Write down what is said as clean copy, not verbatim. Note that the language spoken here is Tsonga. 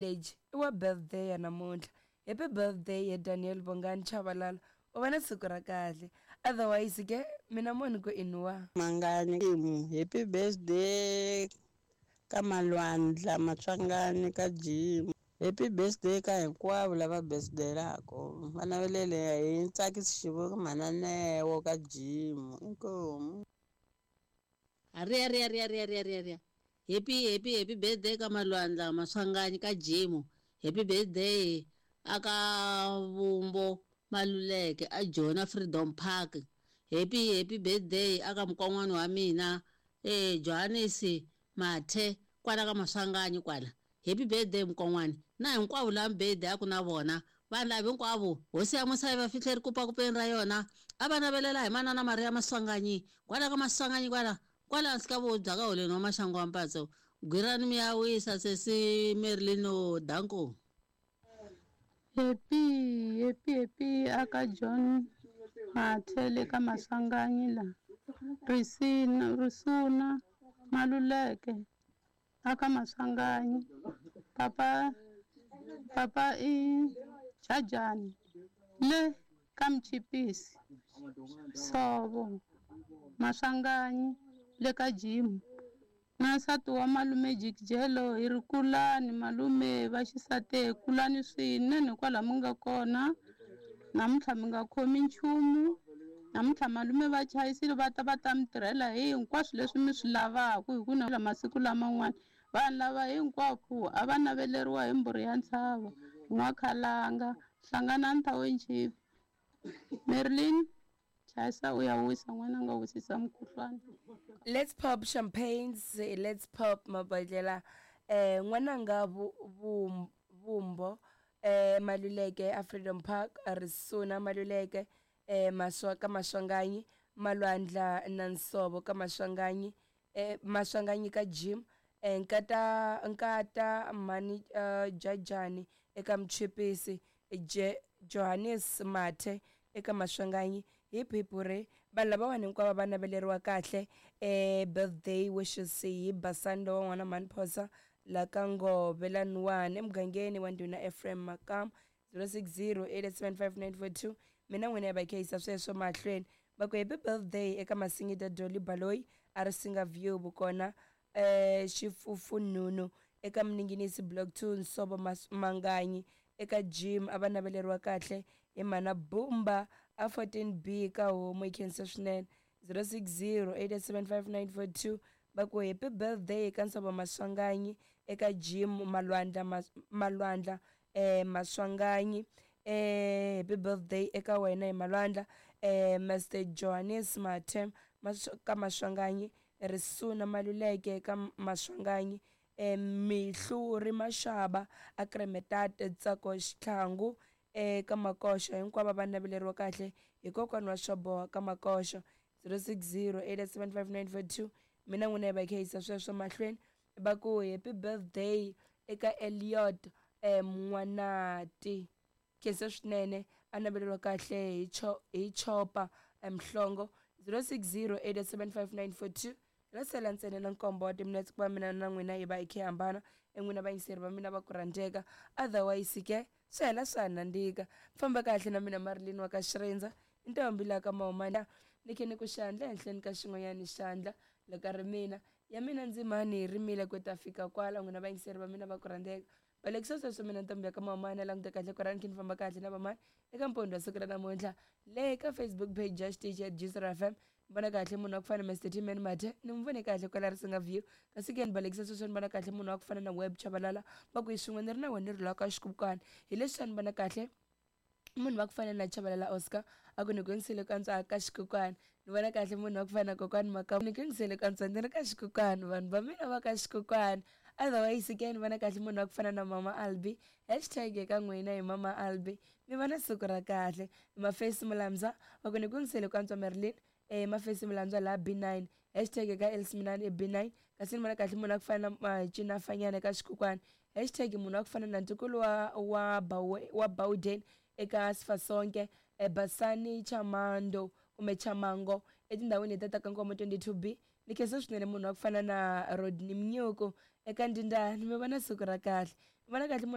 Village i wa birthday ya namuntlha. Happy birthday he Daniel Bongani Chabalala u va na siku ra kahle. Otherwise ke mina mo ni ku i nwa. Mangani happy birthday ka Malwandla Matswangani ka Jim. Happy birthday ka hinkwavo lava birthday-laka. Va navelele hi Ntsakisi Xivuku mhana Neo ka Jim. Inkomu. Riya riya riya riya riya riya riya. Happy happy happy birthday ka Malwandla Maswanganyi ka Jim. Happy birthday aka Vumbo Maluleke a Jona Freedom Park. Happy happy birthday aka mukon'wana wa mina Johannes Mathe kwala ka Maswanganyi kwala. Happy birthday mukon'wana na hinkwavo lava birthday a ku na vona vanhu lava hinkwavo hosi ya musa yi va fihle rikupakupeni ra yona a va navelela hi manana Maria Maswanganyi kwala ka Maswanganyi kwala kwala hansi ka vubya ka holeni wa maxangu wa mpatso gwirani mi ya wisa sesi Merlino danko. Happy happy happy aka John Mathe le ka Maswanganyi la Risina Risuna Maluleke aka Maswanganyi papa papa i Jajani le ka Mchipisi Sovo Maswanganyi le ka Jim na nsati wa malume Jikijelo hi ri kulani malume va xisati kulani swinene kwala mi nga kona namuntlha mi nga khomi nchumu namuntlha malume va chayisile va ta va ta mi tirhela hi hinkwaswo leswi mi swi lavaka hi ku na masiku laman'wana vanhu lava hinkwako a va naveleriwa hi mbhuri ya ntshava n'wakhalanga hlanganani township Merlin chayisa u ya wisa n'wana nga wisisa mukhuhlwana. Let's pop champagnes, let's pop mabodlela. N'wananga Vumbo Maluleke a Freedom Park, Risuna Maluleke Maswa ka Maswanganyi, Malwandla na Nsovo ka Maswanganyi, Maswanganyi ka Jim, Nkata Nkata Mhani Jajani eka Mchipisi, Johannes Mathe eka Maswanganyi. Hip hip hooray. Vanhu lavawani hinkwavo va naveleriwa kahle birthday wishes hi Basani lowa n'wana Mhani Phosa la ka Ngove laniwani emugangeni wa ndhuna Ephraim Makamu 0608755942. Mina n'wina ya va khayisa sweswo mahlweni va ku happy birthday eka Masingita Dolly Baloyi a ri Singa View vukona Xifufunhunu eka Mninginisi Block 2 Nsovo Manganyi eka Jim a va naveleriwa kahle hi mhana Bumba a 14B ka homu yi khensa swinene 0608755942. Va ku happy birthday eka Nsovo Maswanganyi eka Jim Malwandla Malwandla Maswanganyi happy birthday eka wena hi Malwandla Mr Johannes Mathe ka Maswanganyi Risuna Maluleke ka Maswanganyi Mihluri Mashaba a Kremetate Tsako Xitlhangu ka Makoxo hinkwavo va naveleriwa kahle hi kokwana wa Swaboha ka Makoxo 0608755942. Mina n'wina hi va khayisa sweswo mahlweni va ku happy birthday eka Elliot N'wanati khensa swinene a naveleriwa kahle hi Chopa Mhlongo 0608755942. Ra sela ntsena na nkombo wa timinetse ku va mina na n'wina hi va hi khe hambana en'wina vayingiseri va mina va ku rhandzeka otherwise ke swi hela swa nandzika. Famba kahle na mina Marilyn wa ka Xirindza ntombi la ka Mahumana ni khe ni ku xandla ehenhleni ka xin'wanyana xandla loko a ri mina ya mina ndzimani hi rimile ku ta fika kwala n'wina vayingiseri va mina va ku rhandzeka. Balekisa sweswo mina ntombi ya ka Mahumana languta kahle ku rani khe ni famba kahle na vamani eka mpondho wa siku ra namuntlha le ka Facebook page ya xitichi ya Gcr FM. Vona kahle munhu wa ku fana na Mr T-Man Mathe ni n'wi vone kahle kwala Risinga View kasi ke ni balekisa sweswo ni vona kahle munhu wa ku fana na Web Chabalala va ku hi swin'we ni ri na wena ni ri la ka xikukwana hi leswi ni vona kahle munhu wa ku fana na Chabalala Oscar a ku ni ku yingisele ku antswa ka xikukwana ni vona kahle munhu wa ku fana na kokwani Makamu ni ku yingisele ku antswa ni ri ka xikukwana vanhu va mina va ka xikukwana. Otherwise ke ni vona kahle munhu wa ku fana na Mama Albi hashtag eka n'wina hi Mama Albi mi va na siku ra kahle. Mafesi Mulamza va ku ni ku yingisele ku antswa Marilyn Mafesi Mulamza la B9 hashtag eka Elsminani e B9 kasi ni vona kahle munhu wa ku fana na Cinafanyana eka xikukwana hashtag munhu wa ku fana na ntukulu wa Bawden eka Sifasonke Basani Chamando kumbe Chamango etindhawini leti ta ka Nkomo 22B. Ni khensa swinene munhu wa ku fana na Rodney Mnyuku eka Ndindani mi va na siku ra kahle. Ni vona kahle munhu